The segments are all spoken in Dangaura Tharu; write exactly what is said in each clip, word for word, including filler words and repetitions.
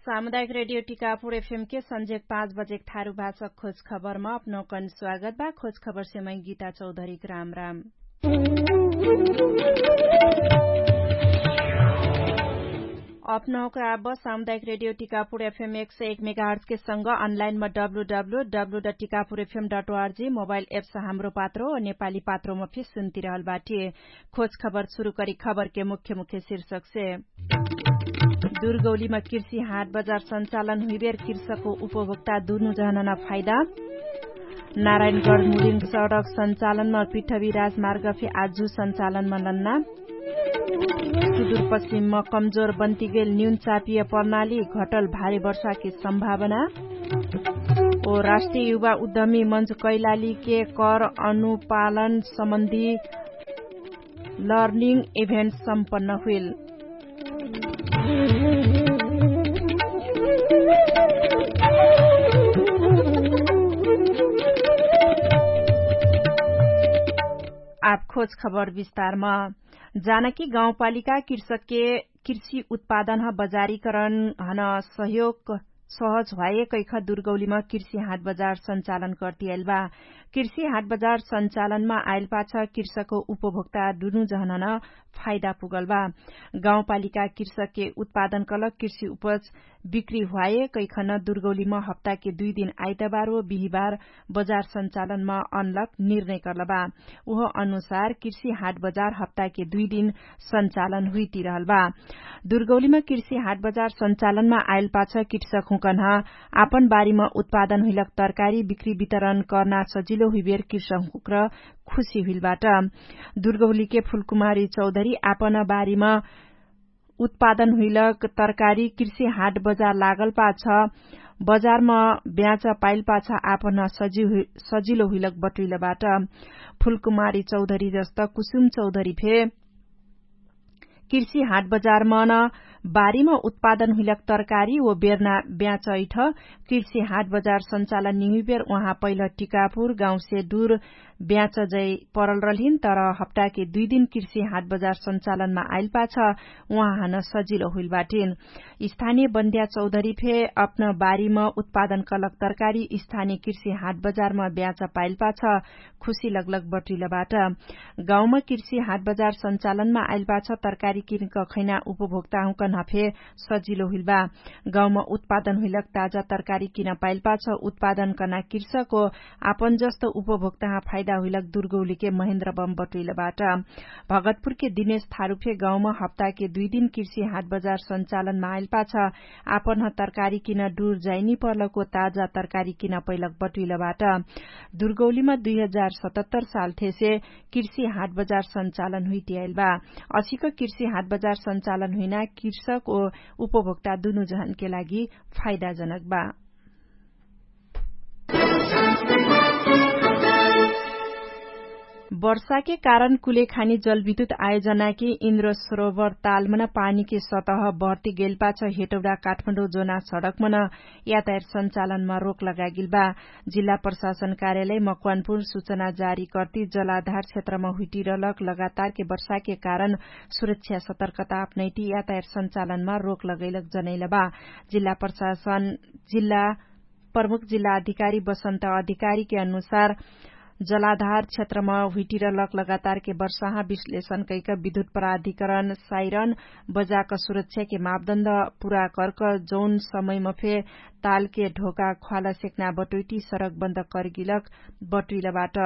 सामुदायिक रेडियो टिकापुर एफएमके सन्झेक पाँच बजेक थारु भाषक खोज खबरमा अपनौकन स्वागत बा। खोज खबरसे मै गीता चौधरीक राम राम। अपनौक आब सामुदायिक रेडियो टिकापुर एफएम एक सय एक मेगाहर्जके संग अनलाइनमा W W W Tikapur FM dot ORG mobile apps Hamro Patro नेपाली पात्रोमा फिर सुन्तिरहल बाटे। खोज खबर सुरु करी खबरके मुख्य मुख्य शीर्षकसे। दुर्गौलीमा कृषि हाट बजार सञ्चालन हुइबेर कृषकको उपभोक्ता दुनु जहनन फाइदा। नारायणगढ मुलिङ सडक सञ्चालनमा पृथ्वी राजमार्ग फे आजु सञ्चालनमा लन्ना। सुदूरपश्चिममा कमजोर बन्तिगेल न्यून चापिय प्रणाली घटल भारी वर्षाकी सम्भावना। ओ राष्ट्रिय युवा उद्यमी मञ्च कैलालीके कर अनुपालन सम्बन्धी लर्निङ इभेन्ट सम्पन्न हुइल। आब खोज खबर विस्तारमा। जानकी गाउँपालिका कृषकके कृषि उत्पादन ह बजारीकरण हन सहयोग सहज ह्वाए कैख दुर्गौलीमा कृषि हाट बजार सञ्चालन कर्तियाइल बा। कृषि हाट बजार सञ्चालनमा आइल पाछ कृषक उपभोक्ता दुनु जहनन फाइदा पुगल बा। गाउँपालिका कृषकके उत्पादन कलक कृषि उपज बिक्री ह्वाए कैखन दुर्गौलीमा हप्ताके दुइ दिन आइतबार ओ बिहिबार बजार सञ्चालनमा अनलक निर्णय कर्लबा। उह अनुसार कृषि हाट बजार हप्ताके दुइ दिन सञ्चालन हुइतिरहल बा। दुर्गौलीमा कृषि हाट बजार सञ्चालनमा आइल पाछ कृषक हुँकन्ह आपन बारीमा उत्पादन हुइलक तरकारी बिक्री वितरण कर्ना सजिलो हुइबेर कृषक हुँक्र खुशी हुइल बाट। दुर्गौलीके फुलकुमारी चौधरी आपन बारीमा उत्पादन हुइलक तरकारी कृषि हाट बजार लागल पाछ बजारमा ब्याँच पाइल पाछ आपन सजिलो हुइलक बटुइल बाट। फुलकुमारी चौधरी जस्त कुसुम चौधरी फे कृषि हाट बजारमन बारीम उत्पादन हुइलक तरकारी ओ बेर्ना ब्याँचैठ कृषि हाट बजार सञ्चालन निहुइबेर उहाँ पैल टिकापुर गाउँसे दुर ब्याँच जै परल रहलिन। तर हप्ताके दुइ दिन कृषि हाट बजार सञ्चालनमा आइल पाछ उहाँ हन सजिलो हुइल बाटिन। स्थानीय बन्द्या चौधरी फे अपन बारीम उत्पादन कलक तरकारी स्थानीय कृषि हाट बजारम ब्याँच पाइल पाछ खुशी लगलग बटुइल बाट। गाउँमा कृषि हाट बजार सञ्चालनमा आइल पाछ तरकारी किनक खैना उपभोक्ता हुँकन्ह फे सजिलो हुइल बा। गाउँमा उत्पादन हुइलक ताजा तरकारी किन पाइल पाछ उत्पादन कना कृषक ओ आपन जस्त उपभोक्ताह फाइदा हुइलक दुर्गौलीके महेन्द्र बम बटुइल बाट। भगतपुरके दिनेश थारुफे गाउँमा हप्ताके दुइ दिन कृषि हाट बजार सञ्चालनमा आइल पाछ आपन तरकारी किन डुर जाइनी पर्लको ताजा तरकारी किन पैलक बटुइल बाट। दुर्गौलीमा दुइ हजार सतहत्तर साल थेसे कृषि हाट बजार सञ्चालन हुइटियाइल बा। असिक कृषि हाट बजार सञ्चालन हुइना कृषक ओ उपभोक्ता दुनु जहनके लागि फाइदाजनक बा। वर्षाके कारण कुलेखानी जलविद्युत आयोजनाके इन्द्र सरोवर तालमन पानीके सतह बढ्ती गेलपाछ हेटौडा काठमाडौँ जोना सडकमन यातायात सञ्चालनमा रोक लगागेल बा। जिल्ला प्रशासन कार्यालय मकवानपुर सूचना जारी कर्ती जलाधार क्षेत्रमा हुइटिरलक लगातारके वर्षाके कारण सुरक्षा सतर्कता अपनैटी यातायात सञ्चालनमा रोक लगैलक जनैल बा। जिल्ला प्रशासन जिल्ला प्रमुख जिल्ला अधिकारी बसन्त अधिकारीके अनुसार जलाधार क्षेत्रमा हुइटिरलक लगातारके वर्षाहा विश्लेषण कैक विद्युत प्राधिकरण साइरन बजाक सुरक्षाके मापदण्ड पुरा कर्क जौन समयमा फे तालके ढोका ख्वाल सेक्ना बटुइटी सडक बन्द कर्गिलक बटुइलबाट।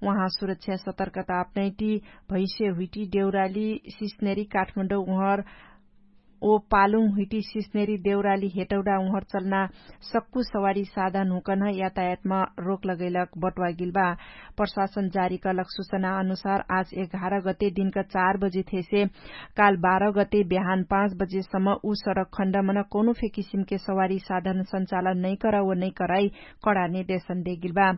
उहाँ सुरक्षा सतर्कता अपनैटी भैसे हुइटी देउराली सिस्नेरी काठमाडौँ उहर ओ पालुङ हुइटी सिस्नेरी देउराली हेटौडा उहर चल्ना सक्कु सवारी साधन हुँकन्ह यातायातमा रोक लगैलक बटुवागिल बा। प्रशासन जारी कलक सुचना अनुसार आज एघार गते दिनक चार बजे थेसे काल बाह्र गते बिहान पाँच बजेसम्म उ सडक खण्डमन कौनो फे किसिमके सवारी साधन सञ्चालन नैकर ओ नैकराई कडा निर्देशन देगिल बा।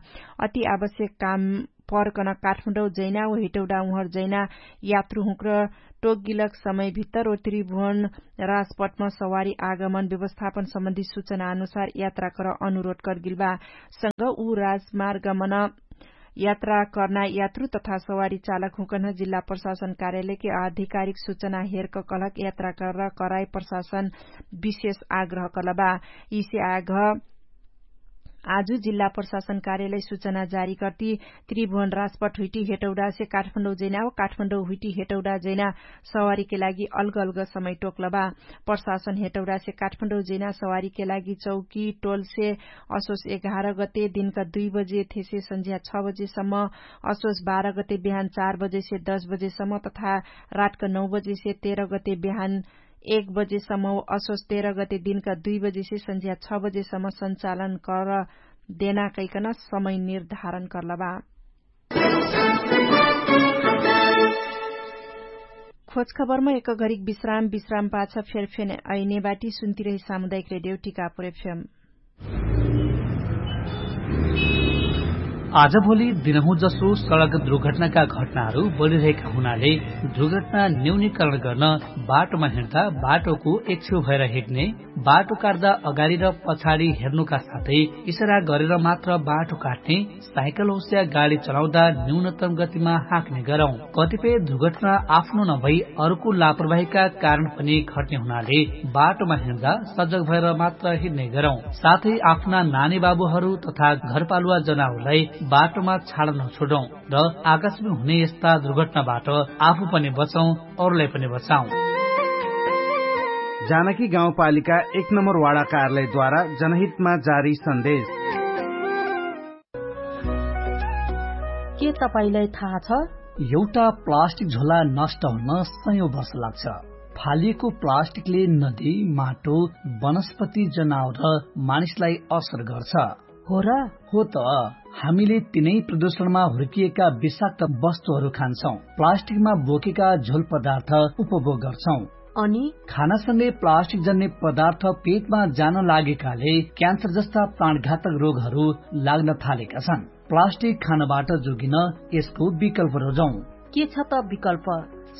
अति आवश्यक काम पर्कन काठमाडौँ जैना ओ हेटौडा उहर जैना यात्रु हुँक्र टोकगिलक समय भित्तर ओ त्रिभुवन राजपटमा सवारी आगमन व्यवस्थापन सम्बन्धी सुचना अनुसार यात्रा कर अनुरोध कर्गिल बा। संग उ राजमार्गमन यात्रा कर्ना यात्रु तथा सवारी चालक हुँकन्ह जिल्ला प्रशासन कार्यालयके आधिकारिक सुचना हेर्क कहलक यात्रा कर्र कराई प्रशासन विशेष आग्रह कलबा। यिसे आग्रह आजु जिल्ला प्रशासन कार्यालय सुचना जारी कर्ति त्रिभुवन राजपट हुइटी हेटौडासे काठमाडौँ जैना वा काठमाडौँ हुइटी हेटौडा जैना सवारीके लागि अलग अलग समय टोक्लबा। प्रशासन हेटौडासे काठमाडौँ जैना सवारीके लागि चौकी टोलसे असोस एघार गते दिनका दुई बजे थेसे सन्झ्या छ बजेसम्म, असोस बाह्र गते बिहान चार बजेसे दस बजेसम्म तथा रातका नौ बजेसे तेह्र गते बिहान एक बजेसम्म असोस तेह्र गते दिनका दुई बजेसे सन्झ्या छ बजेसम्म सञ्चालन कर देना कैकन समय निर्धारण कर्लबा। खोजखबरमा एक घरिक विश्राम विश्राम पाछ फेरफेन ऐने बाटी सुन्तिरही सामुदायिक रेडियो टिकापुर एफएम। आजभोलि दिनहुँ जसो सडक दुर्घटनाका घटनाहरू बढिरहेका हुनाले दुर्घटना न्यूनीकरण गर्न बाटोमा हिँड्दा बाटोको एक्छेउ भएर हिँड्ने, बाटो काट्दा अगाडि र पछाडि हेर्नुका साथै इसारा गरेर मात्र बाटो काट्ने, साइकल होस्या गाडी चलाउँदा न्यूनतम गतिमा हाँक्ने गरौँ। कतिपय दुर्घटना आफ्नो नभई अरूको लापरवाहीका कारण पनि घट्ने हुनाले बाटोमा हिँड्दा सजग भएर मात्र हिँड्ने गरौँ। साथै आफ्ना नानी बाबुहरू तथा घरपालुवा जनावरलाई बाटोमा छाड नछोडौँ र आकाशमा हुने यस्ता दुर्घटनाबाट आफू पनि बचौँ, अरूलाई पनि बचाउँ। जानकी गाउँपालिका एक नम्बर वाडा कार्यालयद्वारा जनहितमा जारी सन्देश। के तपाईंलाई थाहा छ? एउटा प्लास्टिक झोला नष्ट हुन सयौं वर्ष लाग्छ। फालिएको प्लास्टिकले नदी, माटो, वनस्पति, जनावर र मानिसलाई असर गर्छ। हो र? हो त। हामीले तिनै प्रदूषणमा हुर्किएका विषाक्त वस्तुहरू खान्छौं, प्लास्टिकमा बोकेका झोल पदार्थ उपभोग गर्छौं। अनि खानासँगै प्लास्टिक जन्ने पदार्थ पेटमा जान लागेकाले क्यान्सर जस्ता प्राणघातक रोगहरू लाग्न थालेका छन्। प्लास्टिक खानबाट जोगिन यसको विकल्प रोजौं। के छ त विकल्प?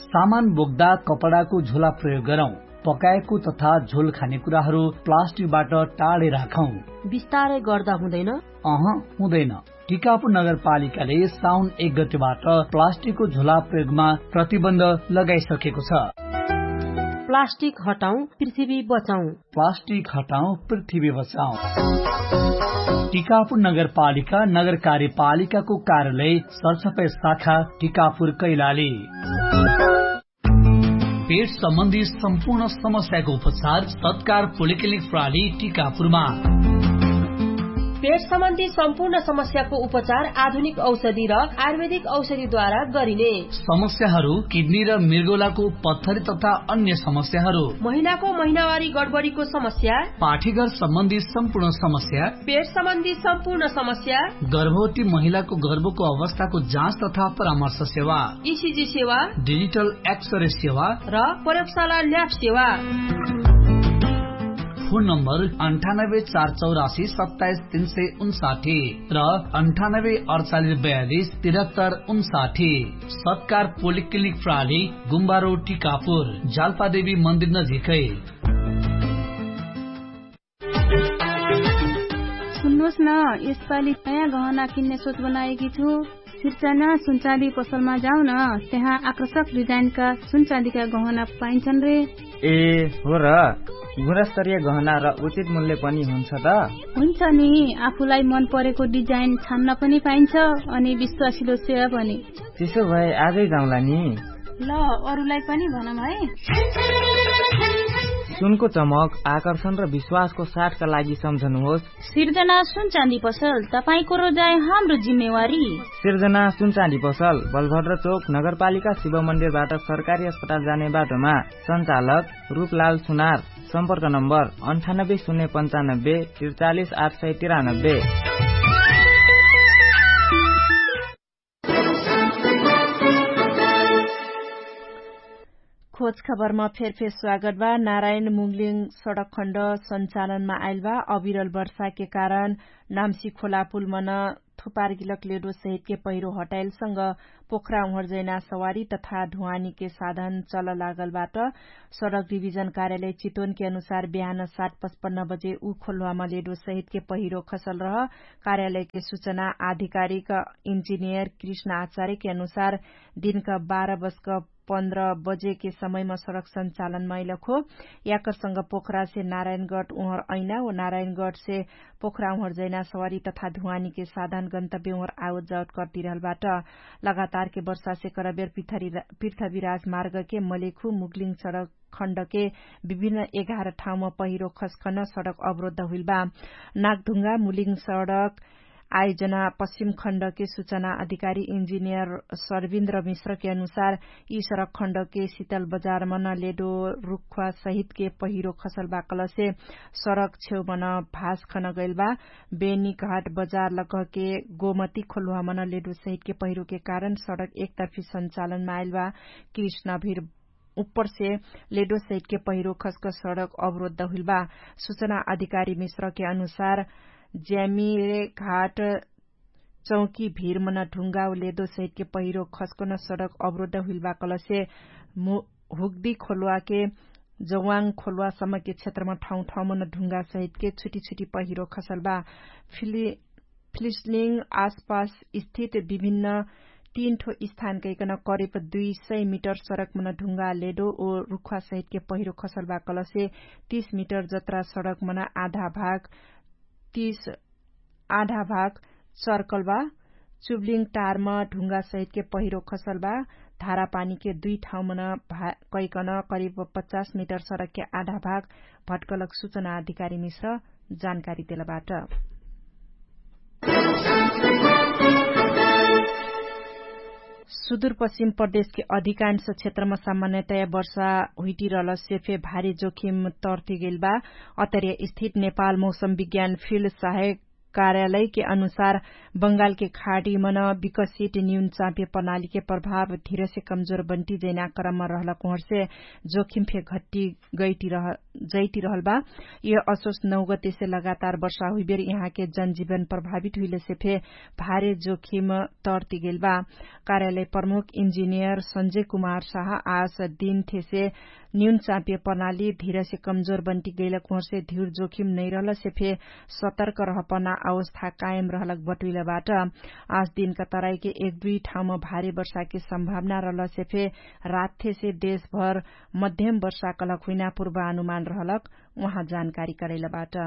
सामान बोक्दा कपडाको झोला प्रयोग गरौं। पकाएको तथा झोल खाने कुराहरू प्लास्टिकबाट टाढै राखौं। बिस्तारै गर्दा हुँदैन? अह, हुँदैन। टिकापुर नगरपालिकाले साउन एक गतिबाट प्लास्टिकको झोला प्रयोगमा प्रतिबन्ध लगाइसकेको छ। प्लास्टिक हटाउँ, पृथ्वी बचाउँ। प्लास्टिक हटाउँ, पृथ्वी बचाउँ। टिकापुर नगरपालिका नगर कार्यपालिकाको कार्यालय सरसफाई शाखा टिकापुर कैलाली। पेट सम्बन्धी सम्पूर्ण समस्याको उपचार सत्कार पोलिक्लिनिक प्रणाली टिकापुरमा। पेट सम्बन्धी सम्पूर्ण समस्याको उपचार आधुनिक औषधि र आयुर्वेदिक औषधिद्वारा गरिने। समस्याहरू किडनी र मृगौलाको पत्थरी तथा अन्य समस्याहरू। महिलाको महिनावारी गडबडीको समस्या। पाठीघर सम्बन्धी सम्पूर्ण समस्या। पेट सम्बन्धी सम्पूर्ण समस्या। गर्भवती महिलाको गर्भको अवस्थाको जाँच तथा परामर्श सेवा। इसिजी सेवा। डिजिटल एक्सरे सेवा। र प्रयोगशाला ल्याब सेवा। फोन नम्बर अन्ठानब्बे चार चौरासी सत्ताइस तीन सय उन्साठी र अन्ठानब्बे अडचालिस बयालिस तिरहत्तर उन्साठी। सत्कार पोलिक्लिनिक प्रणाली गुम्बारो टिकापुर जाल्पादेवी मन्दिर नजिकै। सुन्नुस न, यसपाली नयाँ गहना किन्ने सोच बनाएकी छु। सिर्चना सुनचाँदी पसलमा जाउन। त्यहाँ आकर्षक डिजाइनका सुनचाँदीका गहना पाइन्छन् रे। ए हो र। गुणस्तरीय गहना र उचित मूल्य पनि हुन्छ त? हुन्छ नि। आफूलाई मन परेको डिजाइन छान्न पनि पाइन्छ, अनि विश्वासिलो सेवा पनि। त्यसो भए आजै जाउँला नि। ल, अरूलाई पनि भनौँ है। सुनको चमक, आकर्षण र विश्वासको साथका लागि सम्झनुहोस्। सिर्जना सुनचाँदी पसल, तपाईंको रोजाइ हाम्रो जिम्मेवारी। सिर्जना सुनचाँदी पसल, बलभद्र चोक, नगरपालिका शिव मन्दिरबाट सरकारी अस्पताल जाने बाटोमा। सञ्चालक रूपलाल सुनार। सम्पर्क नम्बर अन्ठानब्बे शून्य पन्चानब्बे त्रिचालिस आठ सय तिरानब्बे। खोज खबरमा फेरफेर स्वागत बा। नारायण मुङलिङ सडक खण्ड सञ्चालनमा आइल बा। अविरल वर्षाके कारण नाम्सी खोला पुल मन थुपार गिलक लेडो सहितके पहिरो हटाइलसँग पोखरा उहर जैना सवारी तथा ढुवानीके साधन चल लागलबाट। सडक डिभिजन कार्यालय चितवनके अनुसार बिहान सात पचपन्न बजे उ खोल्वामा लेडो सहितके पहिरो खसल रह। कार्यालयके सुचना आधिकारिक इन्जिनियर कृष्ण आचार्यके अनुसार दिनका बाह्र बजक पन्ध्र बजेके समयमा सडक सञ्चालनमा अइलक हो। याकरसँग पोखरासे नारायणगढ उहर अइना व नारायणगढसे पोखरा उहर जैना सवारी तथा धुवानीके साधन गन्तव्य उहर आवत जावत कर्तिरहलबाट। लगातारके वर्षासे करबेर पृथ्वीराज मार्गके मलेखु मुगलिङ सडक खण्डके विभिन्न एघार ठाउँमा पहिरो खस्कन सडक अवरोध हुइलबा। नागढुङ्गा मुलिङ सडक आयोजना पश्चिम खण्डके सुचना अधिकारी इन्जिनियर सर्विन्द्र मिश्रके अनुसार यि सडक खण्डके सितल बजारमन लेडो रुख्वा सहितके पहिरो खसलबा कलसे सडक छेउमन भास खनगैलबा। बेनी घाट बजार लगहके गोमती खोल्वामन लेडो सहितके पहिरोके कारण सडक एकतर्फी सञ्चालनमा आइलबा। कृष्णभिर उप्परसे लेडो सहितके पहिरो खस्क सडक अवरोध हुइलबा। सुचना अधिकारी मिश्रके अनुसार ज्यामिरे घाट चौकी भिरमन ढुङ्गा लेदो सहितके पहिरो खस्कन सडक अवरोध हुइलबा कलसे हुग्दी खोलवाके जवाङ खोलवासम्मके क्षेत्रमा ठाउँ ठाउँमन ढुङ्गा सहितके छुटी छुटी पहिरो खसलबा। फिलिस्लिङ आसपास स्थित विभिन्न तीन ठो स्थान कैकन करिब दुई सय मिटर सडकमन ढुङ्गा लेडो ओ रुख्वा सहितके पहिरो खसलबा कलसे तीस मिटर जत्रा सडकमन आधा भाग तीस आधा भाग चर्कलबा। चुब्लिङ टारमा ढुङ्गा सहितके पहिरो खसलबा। धारापानीके दुई ठाउँमन कैकन करिब पचास मिटर सडकके आधा भाग भट्कलक सुचना अधिकारी मिश्र जानकारी देलबाट। सुदुरपश्चिम प्रदेशके अधिकांश क्षेत्रमा सामान्यतया वर्षा हुइटिरहलसे फे भारी जोखिम तर्तिगेल बा। अतर्य स्थित नेपाल मौसम विज्ञान फिल्ड सहायक कार्यालयके अनुसार बंगालके खाडीमन विकसित न्यून चाप्य प्रणालीके प्रभाव धिरसे कमजोर बन्टी जैना क्रममा रहलक उहर्से जोखिम फे घट्टी गैटिरहल बा। यह असोस नौगतेसे लगातार वर्षा हुइबेर यहाँके जनजीवन प्रभावित हुइलेसे फे भारे जोखिम तर्तिगेल बा। कार्यालय प्रमुख इन्जिनियर सञ्जय कुमार साह आस दिनथेसे न्यून चाप्य प्रणाली धिरसे कमजोर बन्टी गैलक उहर्से धिर जोखिम नैरहलसे फे सतर्क रहपना अवस्था कायम रहलक बटुइलबाट। आस दिनका तराइके एक दुई ठाउँमा भारे वर्षाके सम्भावना रहलसे फे रातथेसे देशभर मध्यम वर्षा कलक हुइना पूर्वानुमान रहलक उहाँ जानकारी करैलबाट।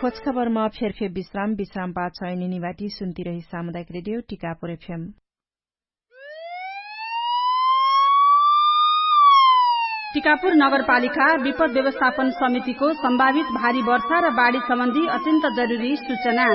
खोजखबरमा फेरफे विश्राम विश्राम पाछ ऐनिनिवाटी सुन्तिरही सामुदायिक रेडियो टिकापुर एफएम। टिकापुर नगरपालिका विपद व्यवस्थापन समितिको सम्भावित भारी वर्षा र बाढी सम्बन्धी अत्यन्त जरुरी सूचना।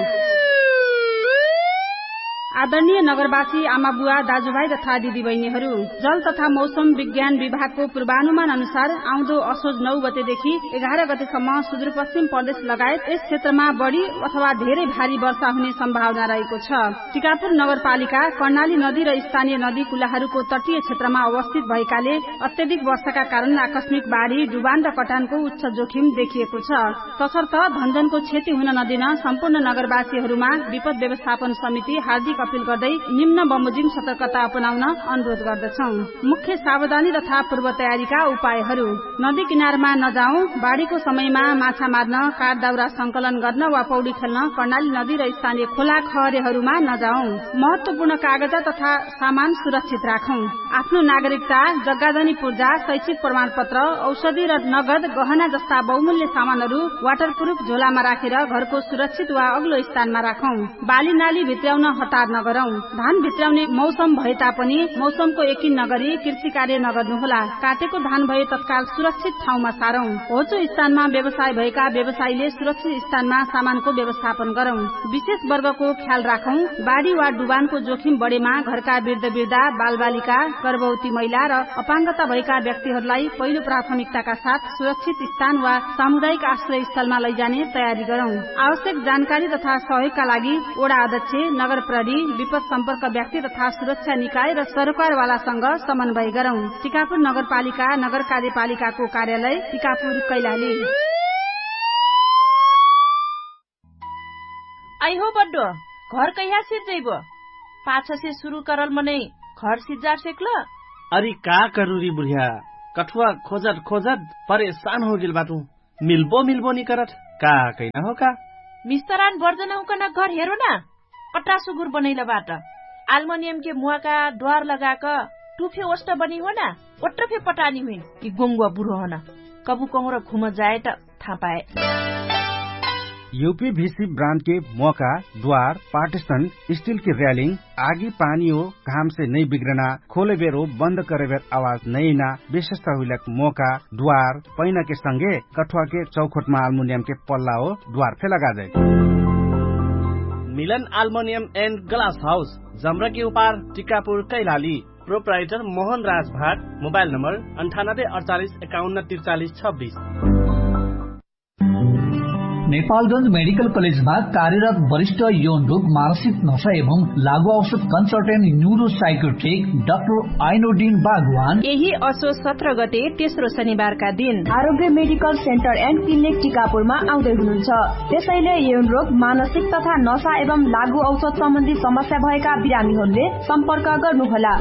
आदरणीय नगरवासी आमाबुवा दाजुभाइ तथा दिदीबहिनीहरू, जल तथा मौसम विज्ञान विभागको पूर्वानुमान अनुसार आउँदो असोज नौ गतेदेखि एघार गतेसम्म सुदूरपश्चिम प्रदेश लगायत यस क्षेत्रमा बढी अथवा धेरै भारी वर्षा हुने सम्भावना रहेको छ। टिकापुर नगरपालिका कर्णाली नदी र स्थानीय नदी कुलाहरूको तटीय क्षेत्रमा अवस्थित भएकाले अत्यधिक वर्षाका कारण आकस्मिक बाढी डुबान र कटानको उच्च जोखिम देखिएको छ। तसर्थ धनजनको क्षति हुन नदिन सम्पूर्ण नगरवासीहरूमा विपद व्यवस्थापन समिति हार्दिक अपिल गर्दै निम्न बमोजिम सतर्कता अपनाउन अनुरोध गर्दछौं। मुख्य सावधानी तथा पूर्व तयारीका उपायहरू। नदी किनारमा नजाउँ। बाढीको समयमा माछा मार्न काठ दाउरा संकलन गर्न वा पौडी खेल्न कर्णाली नदी र स्थानीय खोला खहरेहरूमा नजाउँ। महत्वपूर्ण कागजा तथा सामान सुरक्षित राखौं। आफ्नो नागरिकता, जग्गाजनी पूर्जा, शैक्षिक प्रमाणपत्र, औषधि र नगद गहना जस्ता बहुमूल्य सामानहरू वाटरप्रुफ झोलामा राखेर घरको सुरक्षित वा अग्लो स्थानमा राखौं। बाली नाली भित्र्याउन हतार नगरौं। धान भित्र्याउने मौसम भएतापनि मौसमको यकिन नगरी कृषि कार्य नगर्नुहोला। काटेको धान भए तत्काल सुरक्षित ठाउँमा सारौं। होचो स्थानमा व्यवसाय भएका व्यवसायीले सुरक्षित स्थानमा सामानको व्यवस्थापन गरौं। विशेष वर्गको ख्याल राखौं। बाढी वा डुबानको जोखिम बढेमा घरका वृद्ध वृद्धा, बालबालिका, गर्भवती महिला र अपाङ्गता भएका व्यक्तिहरूलाई पहिलो प्राथमिकताका साथ सुरक्षित स्थान वा सामुदायिक आश्रय स्थलमा लैजाने तयारी गरौं। आवश्यक जानकारी तथा सहयोगका लागि वडा अध्यक्ष, नगर प्रहरी, विपद सम्पर्क व्यक्ति तथा सुरक्षा निकाय र सरोकारवालासँग समन्वय गरौं। टिकापुर नगरपालिका नगर कार्यपालिकाको कार्यालय टिकापुर कैलाली। हो बड्डो, घर कैहा सिज्जैबो? पाछसे सुरु करल मनै घर सिज्जा सेक्ल? अरि का करुरी बुढ्या, कठुवा खोजत खोजत परेशान होगेल बाटु। मिल्बो मिल्बो निकरत, का कैना हो का? मिस्तरान बर्जनहुँकन घर हेरो ना, कट्रा सुगुर बनैल बाट। आल्मनियमके मुवाका द्वार लगाक टुफे ओष्ट बनी हो ना, ओट्रफे पटानी हुइन। कि गोङ्गुवा बुढो हन, कबु कहुँर घुम जाए त थाहा पाए। युपी भिसी ब्रान्डके मोका, द्वार, पार्टिसन, स्टिलके र्यालिङ, आगी पानी हो घामसे नै बिग्रना, खोलेबेर हो बन्द करेबेर आवाज नैना, विशेषता हुइलक मोका, द्वार, पैनाके संगे कठुवाके चौखोटमा आल्मुनियमके पल्ला हो द्वार फे लगाजै। मिलन आल्मुनियम एन्ड ग्लास हाउस, जम्रकी उपार, टिकापुर, कैलाली। प्रोप्राइटर मोहन राज भाट। मोबाइल नम्बर अन्ठानब्बे अडचालिस एकाउन्न त्रिचालिस छब्बिस। नेपालगंज मेडिकल कलेजमा कार्यरत वरिष्ठ यौन रोग, मानसिक नशा एवं लागु औषध कन्सल्टेन्ट न्युरोसाइकोट्रिक डाक्टर आइनोडिन बागवान यही असो सत्र गते तेस्रो शनिबारका दिन आरोग्य मेडिकल सेन्टर एन्ड क्लिनिक टिकापुरमा आउँदै हुनुहुन्छ। त्यसैले यौन रोग, मानसिक तथा नशा एवं लागु औषध सम्बन्धी समस्या भएका बिरामीहरूले सम्पर्क गर्नुहोला।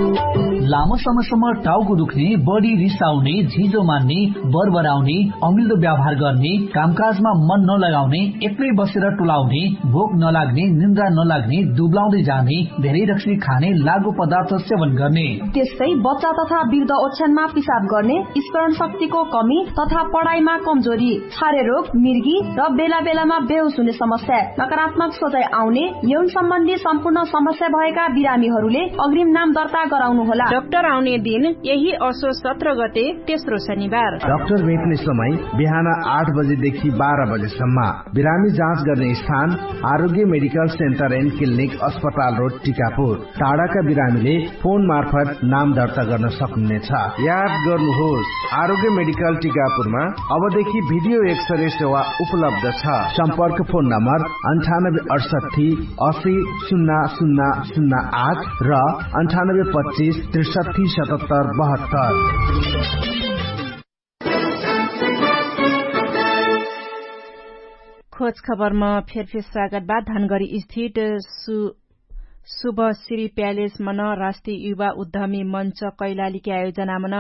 लामो समयसम्म टाउको दुख्ने, बढी रिसाउने, झिजो मान्ने, बरबराउने, अमिल्दो व्यवहार गर्ने, कामकाजमा मन नलगाउने, एक्लै बसेर टुलाउने, भोक नलाग्ने, निन्द्रा नलाग्ने, दुब्लाउँदै जाने, धेरै रक्सी खाने, लागु पदार्थ सेवन गर्ने, त्यस्तै बच्चा तथा वृद्ध ओछ्यानमा पिसाब गर्ने, स्मरण शक्तिको कमी तथा पढाइमा कमजोरी, छारे रोग, मिर्गी र बेला बेलामा बेहोस हुने समस्या, नकारात्मक सोचाइ आउने, यौन सम्बन्धी सम्पूर्ण समस्या भएका बिरामीहरूले अग्रिम नाम दर्ता गराउनुहोला। डाक्टर आउने दिन यही असो सत्र गते तेस्रो शनिबार। डाक्टर भेट्ने समय बिहान आठ बजेदेखि बाह्र बजेसम्म। बिरामी जाँच गर्ने स्थान आरोग्य मेडिकल सेन्टर एन्ड क्लिनिक, अस्पताल रोड, टिकापुर। टाढाका बिरामीले फोन मार्फत नाम दर्ता गर्न सक्नुहुनेछ। याद गर्नुहोस्, आरोग्य मेडिकल टिकापुरमा अबदेखि भिडियो एक्सरे सेवा उपलब्ध छ। सम्पर्क फोन नम्बर अन्ठानब्बे अडसट्ठी असी सुन्ना सुन्ना सुन्ना आठ र अन्ठानब्बे पच्चिस त्रिसट्ठी सतहत्तर बहत्तर। खोज खबरमा फेरफेर स्वागत बा। धनगढी स्थित सु शुभ श्री प्यालेस मन राष्ट्रिय युवा उद्धमी मञ्च कैलालीके आयोजनामन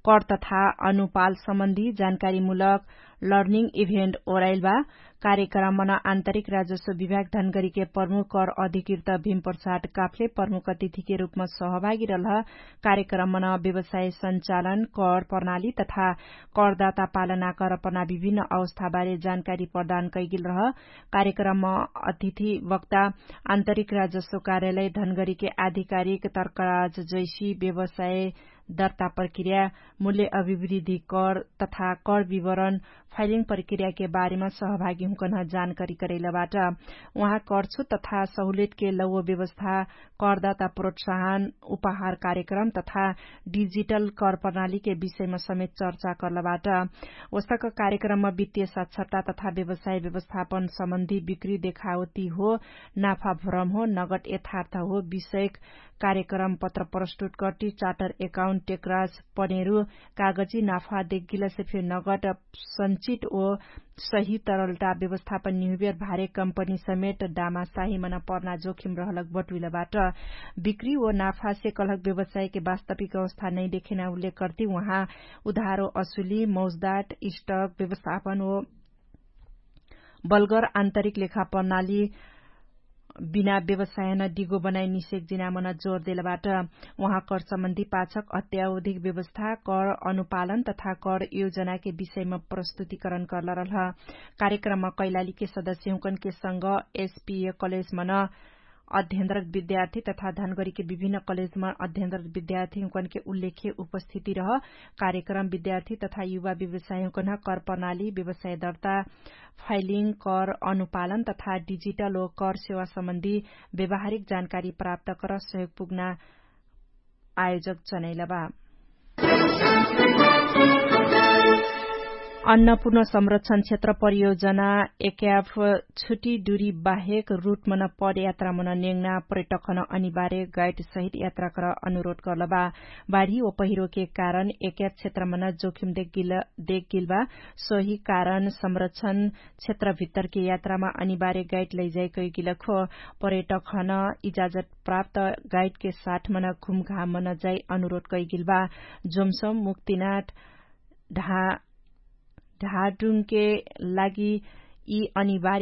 कर तथा अनुपाल सम्बन्धी जानकारीमुलक लर्निङ इभेन्ट ओराइल बा। कार्यक्रममन आन्तरिक राजस्व विभाग धनगरीके प्रमुख कर अधिकृत भीमप्रसाद काफले प्रमुख अतिथिके रूपम सहभागी रहलह। कार्यक्रममन व्यवसाय सञ्चालन, कर प्रणाली तथा करदाता पालना करपना विभिन्न अवस्थाबारे जानकारी प्रदान कैगेल रह। कार्यक्रमम अतिथि वक्ता आन्तरिक राजस्व कार्यालय धनगरीके आधिकारिक तर्कराज जैसी व्यवसाय दर्ता प्रक्रिया, मूल्य अभिवृद्धि कर तथा कर विवरण फाइलिङ प्रक्रियाके बारेमा सहभागी हुँकन जानकारी करैलबाट। उहाँ करछु तथा सहुलेटके लौव व्यवस्था, करदाता प्रोत्साहन, उपहार कार्यक्रम तथा डिजिटल कर प्रणालीके विषयमा समेत चर्चा करलबाट। ओसक कार्यक्रममा वित्तीय साक्षरता तथा व्यवसाय व्यवस्थापन सम्बन्धी बिक्री देखावती हो, नाफा भ्रम हो, नगद यथार्थ हो विषयक कार्यक्रम पत्र प्रस्तुत कर्टी चार्टर एकाउन्ट टेक्राज पनेरु कागजी नाफा देगिलसे फेर नगद सञ्चित ओ सही तरलता व्यवस्थापन निहुबेर भारे कम्पनी समेत डामा साहिमन पर्ना जोखिम रहलक बटुइलबाट। बिक्री ओ नाफासे कलहक व्यवसायके वास्तविक अवस्था नै देखेना उल्लेख कर्ती उहाँ उधारो असुली मौजदाट स्टक व्यवस्थापन ओ बलगर आन्तरिक लेखा प्रणाली बिना व्यवसायन डिगो बनाइ निषेक जिनामन जोर देलबाट। उहाँ कर सम्बन्धी पाछक अत्यावधिक व्यवस्था कर अनुपालन तथा कर योजनाके विषयमा प्रस्तुतिकरण कर्लरलह। कार्यक्रममा कैलालीके सदस्यहुँकनके संग एसपिए कलेजमन अध्ययनरत विद्यार्थी तथा धनगरीके विभिन्न कलेजमा अध्ययनरत विद्यार्थीहुँकनके उल्लेख्य उपस्थिति रह। कार्यक्रम विद्यार्थी तथा युवा व्यवसायहुँकन कर प्रणाली व्यवसाय दर्ता फाइलिङ कर अनुपालन तथा डिजिटल ओ कर सेवा सम्बन्धी व्यावहारिक जानकारी प्राप्त कर सहयोग पुग्ना आयोजक जनैलबा। अन्नपूर्ण संरक्षण क्षेत्र परियोजना एक्याफ छुट्टी दुरी बाहेक रुटमन पदयात्रामन नेङ्ना पर्यटकन अनिवार्य गाइडसहित यात्राकर अनुरोध कर्लबा। बाढी व पहिरोके कारण एक्याफ क्षेत्रमन जोखिम देखगिलबा। सोही कारण संरक्षण क्षेत्रभित्तरके यात्रामा अनिवार्य गाइड लैजाइ कैगिलखो पर्यटकन इजाजत प्राप्त गाइडके साठमन घुमघामन जाइ अनुरोध कैगिलबा। जोमसम मुक्तिनाट ढाडुङके लागि यि अनिवार्य